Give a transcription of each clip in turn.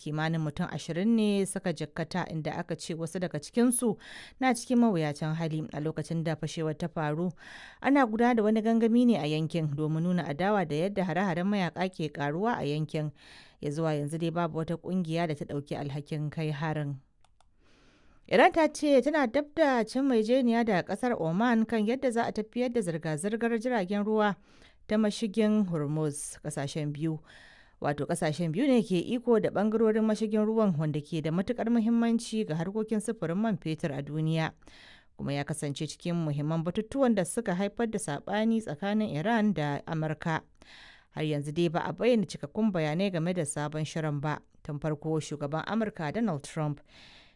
Kimanin mutum 20 ne suka jikkata, inda aka ce wasu daga cikinsu na cikin mawuyacin hali. A lokacin da fashewar ta faru, ana gudanar da wani gangami ne a yankin domin nuna adawa da yadda hare-haren mayaka ke karuwa a yankin. Ya zuwa yanzu dai babu wata kungiya da ta dauki alhakin kai harin. Iran ta ce tana dab da cin maijeniya da kasar Oman kan yadda za a tafiyar da zirga-zirgar jiragen ruwa ta mashigin Hormuz. Kasashen biyu, wato kasashen biyu ne ke iko da bangarorin mashigin ruwan, wanda ke da matukar muhimmanci ga harkokin sufurin man fetur a duniya, kuma ya kasance cikin muhimman batutuwan da suka haifar da sabani tsakanin Iran da Amurka. Har yanzu dai ba a bayyana cikakkun bayanai game da sabon shirin ba. Tun farko shugaban Amurka Donald Trump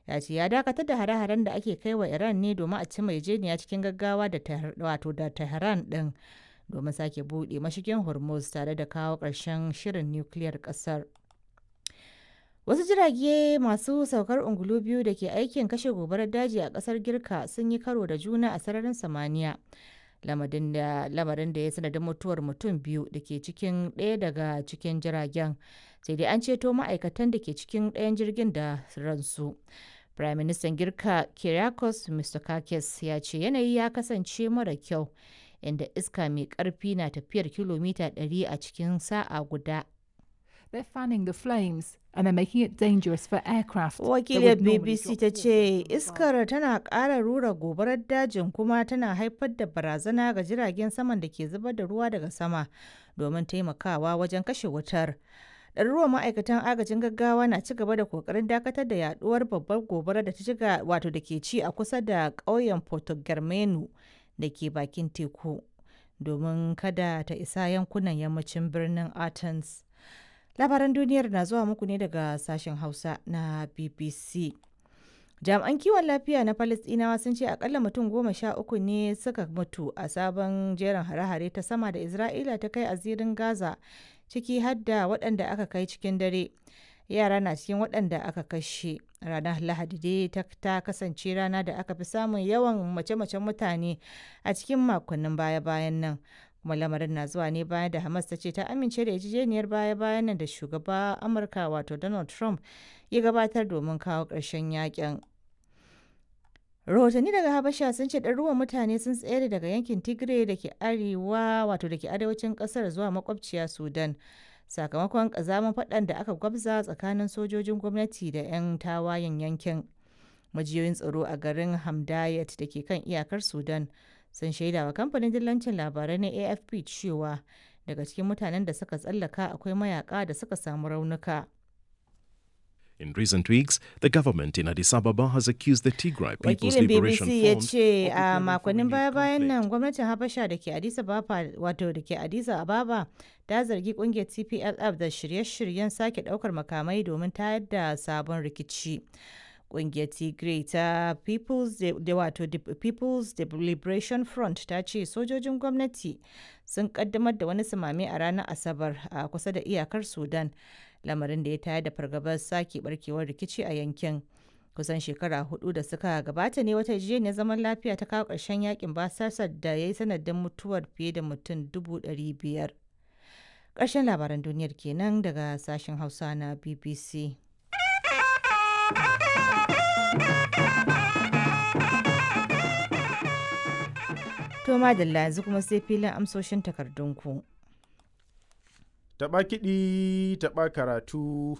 ya ce ya dakatar da hare-haren da ake kai wa Iran ne domin a ci maijeniya cikin gaggawa da wato da Tehran din domin sake buɗe mashigin Hormuz tare da kawo ƙarshen shirin nukiliyar ƙasar. Wasu jirage masu saukar ungulu biyu da ke aikin kashe gobarar daji a ƙasar Girka sun yi karo da juna a sararin samaniya, lamarin da ya sanadin mutuwar mutum biyu da ke cikin ɗaya daga cikin jiragen. Sai dai an ceto ma'aikatan da ke cikin ɗayan jirgin da ransu. Prime Minister Girka Kyriakos Mitsotakis ya ce yanayi ya kasance mara kyau, inda iska mai ƙarfi na tafiyar kilomita 100 a cikin sa'a guda. They're fanning the flames and they're making it dangerous for aircraft that Wakiliyar would normally BBC drop ta water ce from above. iskar tana ƙara rura gobarar dajin kuma tana haifar da barazana ga jiragen saman da ke zubar da ruwa daga sama domin taimakawa wajen kashe wutar. Ɗaruruwan ma'aikatan agajin gaggawa na ci gaba da kokarin dakatar da yaduwar babbar gobarar da ta shiga, wato da ke ci a kusa da ƙauyen Porto Germano da ke bakin teku, domin kada ta isa yankunan yammacin birnin Athens. Labaran duniyar na zuwa muku ne daga sashen Hausa na BBC. Jami'an kiwon lafiya na Falasɗinawa sun ce akalla mutum 13 ne suka mutu a sabon jerin hare-hare ta sama da Isra'ila ta kai a zirin Gaza, ciki har da waɗanda aka kai cikin dare. Yara na cikin waɗanda aka kashe. Ranar Lahadi dai ta kasance rana da aka fi samun yawan mace-macen mutane a cikin makonnin baya-bayan nan. Kuma lamarin na zuwa ne bayan da Hamas ta ce ta amince da yarjejeniyar baya-bayan nan da shugaba Amurka wato Donald Trump ya gabatar domin kawo ƙarshen yakin. Rahotanni daga Habasha sun ce ɗaruruwan mutane sun tsere daga yankin Tigray da ke arewa, wato da ke arewacin ƙasar, zuwa makwabciya Sudan, sakamakon ƙazamin faɗan da aka gwabza tsakanin sojojin gwamnati da 'yan tawayen yankin. Majiyoyin tsaro a garin Hamdayet da ke kan iyakar Sudan sun shaida wa kamfanin dillancin labarai na AFP cewa daga cikin mutanen da suka tsallaka akwai mayaka da suka samu raunuka. In recent weeks, the government in Addis Ababa has accused the Tigray People's Wakilin Liberation BBC ya Front ce of a preparing for makonnin renewed baya-bayan nan conflict. gwamnatin Habasha da ke Addis Ababa, wato da ke Addis Ababa, ta zargi kungiyar TPLF da shirye-shiryen sake daukar makamai domin tayar da sabon rikici. Kungiyar Tigray ta People's da wato the People's Liberation Front ta ce sojojin gwamnati sun kaddamar da wani sumame a ranar Asabar a kusa da iyakar Sudan, lamarin da ya tayar da fargabar sake barkewar rikici a yankin. Kusan shekara 4 da suka gabata ne wata yarjejeniyar zaman lafiya ta kawo ƙarshen yakin basasar da ya yi sanadin mutuwar fiye da mutum 500,000. Ƙarshen labaran duniyar kenan daga sashen Hausa na BBC. To madalla, yanzu kuma sai filin amsoshin takardunku. Taɓa kiɗi, taɓa karatu.